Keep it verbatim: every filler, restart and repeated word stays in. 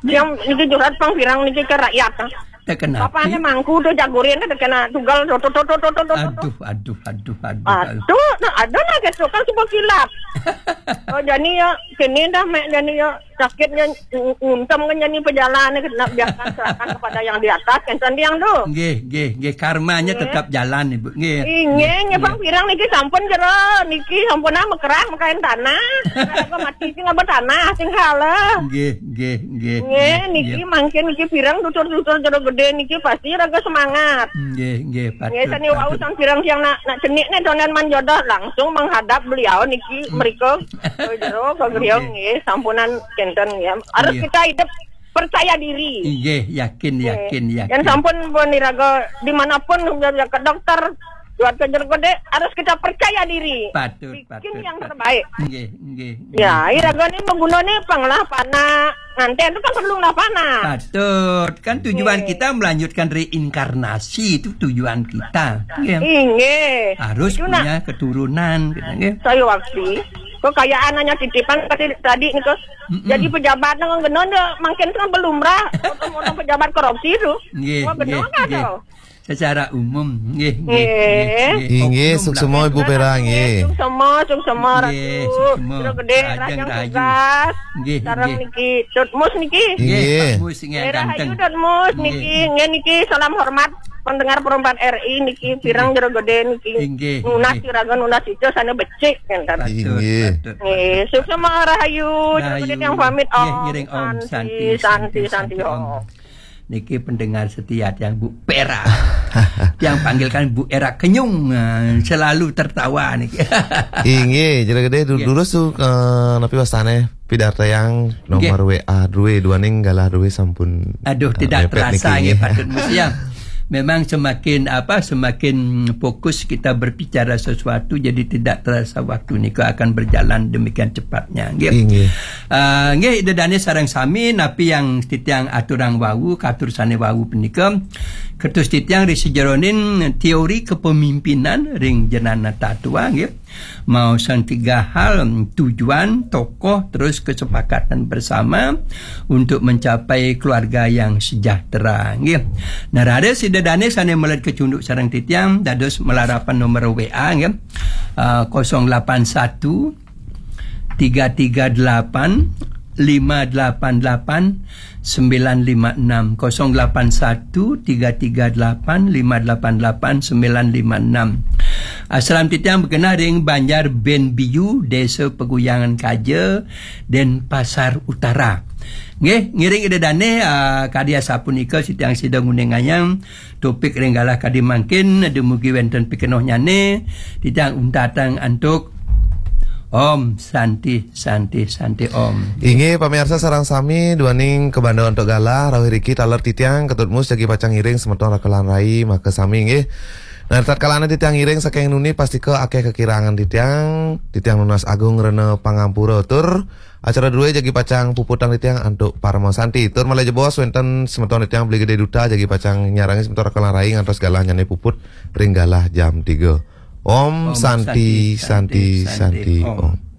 Yang niki curhat pang pirang niki ke rakyat. Teh kenapa? Bapaknya mangku tuh jagurin tuh kena tugal tuh tuh tuh tuh tuh tuh tuh. Aduh, aduh, aduh, aduh. Aduh, nah, ada lah gitu kan sebab kilat. Oh, jadi ya, sini dah, Mek, jadi ya, sakitnya ng-, nguntem kan jadi pejalan, kena biarkan serahkan kepada yang di atas, kan tiang tuh. Nggih, nggih, nggih, karmanya tetap jalan, Ibu. Nggih. Inggih, nggih, nggih. Bang pirang niki sampun jero, niki sampun ah mekerah mekain tanah. Aku mati sing apa tanah, sing kalah. Nggih, nggih, nggih. Nggih, niki mangkin niki pirang tutur-tutur jero gede niki pasti raga semangat. Nggih, nggih, patut. Nggih, sani wau patut. Sang pirang siang nak, nak cenik nih donen manjodoh langsung menghadap beliau niki mereka ke jero ke beliau nggih sampunan kenten ya. Harus kita hidup percaya diri. Nggih, yakin, yakin, yakin. Yang sampun pun iraga dimanapun ke dokter, buat ke jero gede harus kita percaya diri. Patut, patut. Bikin yang terbaik. Nggih, nggih, nggih. Ya, iraga ni menggunane pang lah panah. Nganten itu kan perlu lah panah. Patut. Kan tujuan kita melanjutkan reinkarnasi, itu tujuan kita. Nggih. Inggih. Harus punya keturunan, gitu, nggih. Saya waktu kekayaan hanya titipan tadi tadi nih kok. Jadi pejabat nang genon ya makin kan belum lah. Orang pejabat korupsi itu. Nggih, nggih, nggih. Secara umum, nggih, nggih, nggih, nggih. Inggih, suksema Ibu Pera, nggih. Suksema, suksema, Ratu. Nggih, suksema. Jero gede, Rajang Rahayu. Tugas. Nggih, sareng nggih. Niki, Tutmus niki. Nggih, nggih. Pak Mus, nggih, ganteng. Rahayu Tutmus niki, nggih niki, salam hormat pendengar Pro empat R I niki, pirang jero gede niki. Inggih, nunas nggih. Siraga nunas ijo sana becik, ngenten. Patut, inggih. Patut. Nggih, suksema Rahayu, jero gede yang pamit, nggih, Om. Ngiring Om, Santi, Santi, Santi, Santi, Santi, Om. Om. Niki pendengar setia tiang Bu Pera. Tiang panggilkan Bu Era Kenyung, eh, selalu tertawa niki. Inggih, jero gede du-, durus tuh, eh, napi wastane pidarta yang nomor W A dua dua ning galah dua sampun, aduh, eh, tidak mepet terasa niki, nggih, nggih. Patut musi ya. Memang semakin apa, semakin fokus kita berbicara sesuatu, jadi tidak terasa waktu niki akan berjalan demikian cepatnya, nggih. Inggih. Eh, nggih, Ida Dane sareng sami napi yang titiang aturang wau, katur sane wau punika. Kertus titiang ri sejeroning teori kepemimpinan ring jenana tatua, nggih. Maosang tiga hal, tujuan, tokoh, terus kesepakatan bersama untuk mencapai keluarga yang sejahtera, nggih. Nah, raris Ida Dane sane meled kecunduk sareng titiang, dados malarapan nomor W A, nggih. Eh, kosong delapan satu, tiga tiga delapan, lima delapan delapan, sembilan lima enam, kosong delapan satu, tiga tiga delapan, lima delapan delapan, sembilan lima enam. Asram titiang bekenah ring Banjar Benbiu, Desa Peguyangan Kaja, Denpasar Utara. Nggih, ngiring Ida Dane, ah, kadi asapunika titiang sida nguningayang topik ring galah kadi mangkin, dumugi wenten pikenohnyane, titiang untatang antuk Om Santi, Santi, Santi Om. Inggih, pamiarsa sareng sami, duaning kabanda antuk galah, rauh iriki taler titiang, Ketut Mus jagi pacang ngiring semeton Rakelan Rai, maka sami nggih. Nah, tatkalane titiang ngiring saking nuni pastika akeh kakirangan titiang, titiang nunas agung rena pangampura tur acara druwe jagi pacang puputang titiang antuk Parama Santi. Tur malih jebos wenten semeton titiang Beli Gede Duta jagi pacang nyarangi semeton Rakelan Rai ngantos galahnyane puput ring galah jam tiga. Om Santi, Santi, Santi, Om.